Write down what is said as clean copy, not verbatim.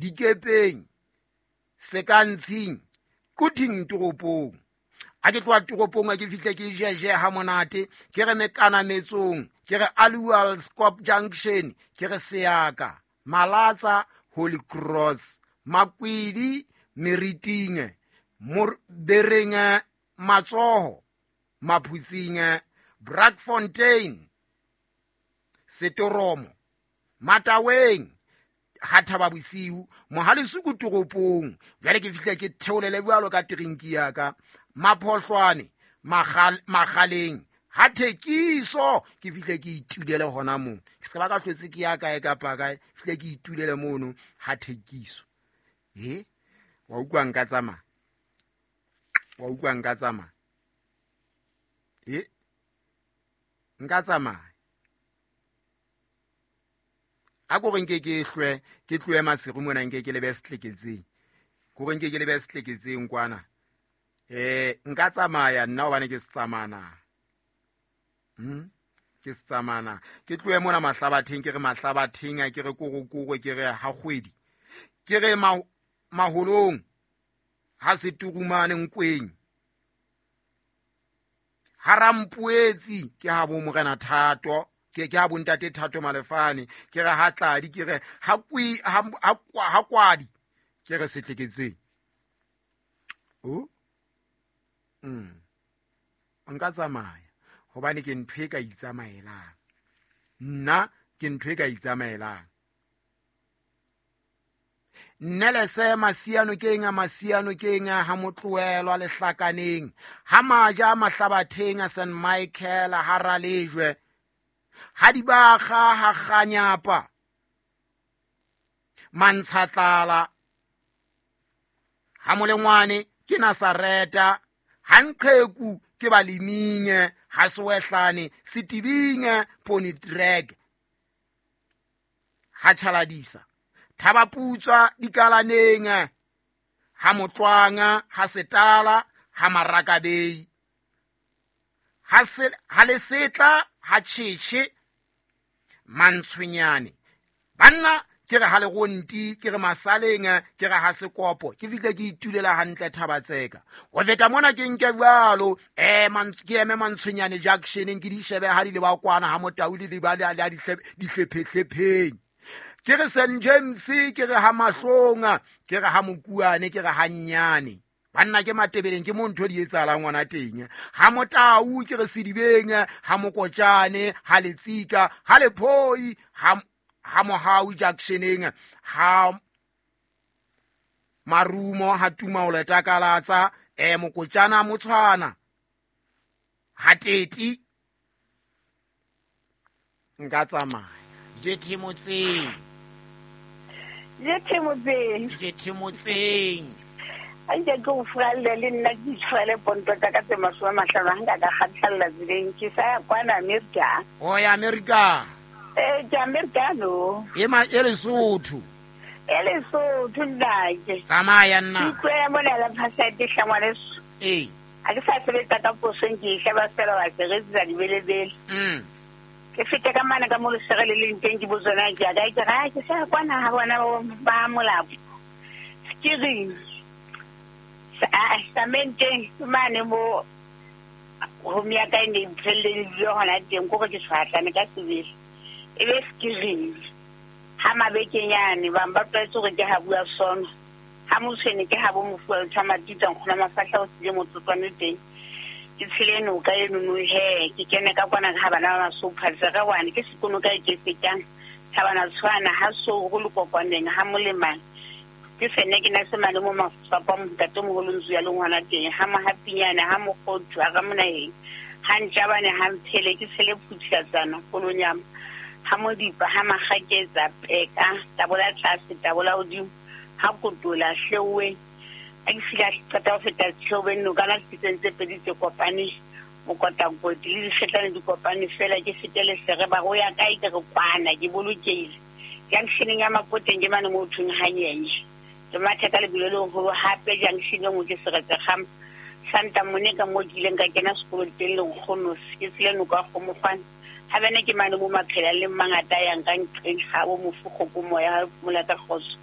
Dikepeng, Sekantshing, Quthing toropong. A ke tloha toropong a ke fihle ke jeje ha monate, ke re mekanametsong, ke re Alual Scop Junction, ke re Seaka, Malatsa, Holy Cross, Makwidi, Meriting, Bereng, Matsoho, Maphutsing, Brakfontein, Setoromo, Mataweng, ha Thaba Bosiu, Mohalesuku toropong. Jwale ke fihle ke theolele jwalo ka trinki ya ka, Maphohlwane, Magaleng, ha Thekiso, ke fihle ke itulele hona moo. Ke se ba ka hlotse ke ya kae kapa kae, fihle ke itulele mono ha Thekiso. Wa utlwa nka tsamaya? Wa utlwa nka tsamaya? Nka tsamaya. A ko re nke ke hlwe, ke tlohe Maseru mona, nke ke lebe setleketseng. Ko re nke ke lebe setleketseng kwana. Nka tsamaya nna hobane ke se tsamana. Ke se tsamana. Ke tlohe mona Mahlabatheng, ke re Mahlabatheng, ke re Korokoro, ke re ha kgwedi. Ke re Maholong, ha Seturumane Nkweng. Ha Rampoetsi, ke ha bo Morena Thato, ke ha bo Ntate Thato Malefane, ke re ha Tladi, ke re ha Kwi, ha, ha, ha Kwadi, ke re setleketseng. O? Nka tsamaya hobane ke ntho e ka itsamaelang. Nna ke ntho e ka itsamaelang. Nnelese Masiano ke eng, Masiano ke eng, ha motlohelwa lehlakaneng, ha maja Mahlabatheng a Saint Michael, ha Ralejwe, ha Dibakga, ha Kganyapa, Mantshatlala, ha Molengwane ke Nasareta, ha Nqeku ke Baleming, ha Sewehlane, Setibing, Pony Trek, ha Tjhaladisa, Thabaputswa dikalaneng, ha Motlwanga, ha Setala, ha Marakabei, ha Lesetla, ha Tjhetjhe, Mantshwenyane. Banna ke re ha Leronti, ke re Masaleng, ke re ha Sekopo, ke fihle ke itulela hantle Thabatseka. Ho feta mona ke nke jwalo, ke eme Mantshwenyane Junctioneng, ke di shebe ha di le ba kwana ha Motau le ba le a dihlophe-hlopheng. Ke re Saint James, ke re ha Mahlong, ke re ha Mokuane, ke re ha Nnyane. Banna ke Matebeleng, ke mo ntho di etsahalang ngwana teng. Ha Motau, ke re Sedibeng, ha Mokotjane, ha Letsika, ha Lephoi, ha Mohau Junctioneng, ha Marumo, ha Tumaole Takalatsa, Mokotjana Motshwana, ha Teti. Nka tsamaya. Jethe motseng. Jethe motseng. Jethe motseng. A nke ke o furalle le nna ke itshwarele ponto tsa ka tse 50, ha nka ka kgathalla tseleng. Ke sa ya kwana Amerika. O ya Amerika? Ke Amerika no. E ma, e Lesotho. E Lesotho, nnake. Tsamaya nna. Ke utlwe mona la phasete hlangwaneso. Ha ke sa sebetsa ka posong, ke e sheba fela wa ke retsa dibelebele. Ke fete ka mane ka mo lesere le leng teng, ke botsona ke ya kae, ke re, ha ke sa ya kwana ha bona ba Molapo. Ke reng? Samenteng, ke mane mo home ya ka e ne e mphelleditse hona teng, ke hore ke tshwahlane ka sebele. E be ke reng? Ha mabekenyane, bang ba tlwaetse hore ke ha bua sono. Ha motshwene ke ha bo mofuwa le Matita, nkgono mafahla o sile motsotswane teng. Ke tshele noka eno no he, ke kene ka kwana ha bana ba masopha, tsere wane, ke sekono ka e ke fetang. Thabana tshwana, ha so ho le kokwaneng, ha molemane. Ke sene ke na se mane mo mafapha ntate moholo ntsu ya leng hona teng, ha mohapinyane, ha mokgothu, ha ramonaheng, ha ntjabane, ha mphele, ke tshele phuthiatsana, kolonyama, ha modipa, ha makgaketsa, peka, tabola tlase, tabola hodimo, ha kotola, hleuwe. Ha ke fihla qeta ho feta Tsheobeng, nokana tse tse pedi tse kopane, mokotakoti le dikgetlane di kopane fela, ke fete lesere, ba re o ya kae, ke re kwana, ke bolokehile. Junctioneng ya Mapoteng ke mane moo thweng hanyenye. Ke matha ka lebelo le leholo hape junction e nngwe ke Seretse Kgama. Santa Monica moo ke ileng ka kena sekolo teng le nkgono, ke tshele noka ya Kgomokgwane. Ha bene ke mane mo maphela le mangata a yang ka nqeng ha bo mofu kgoko moya ha mola ka kgotso.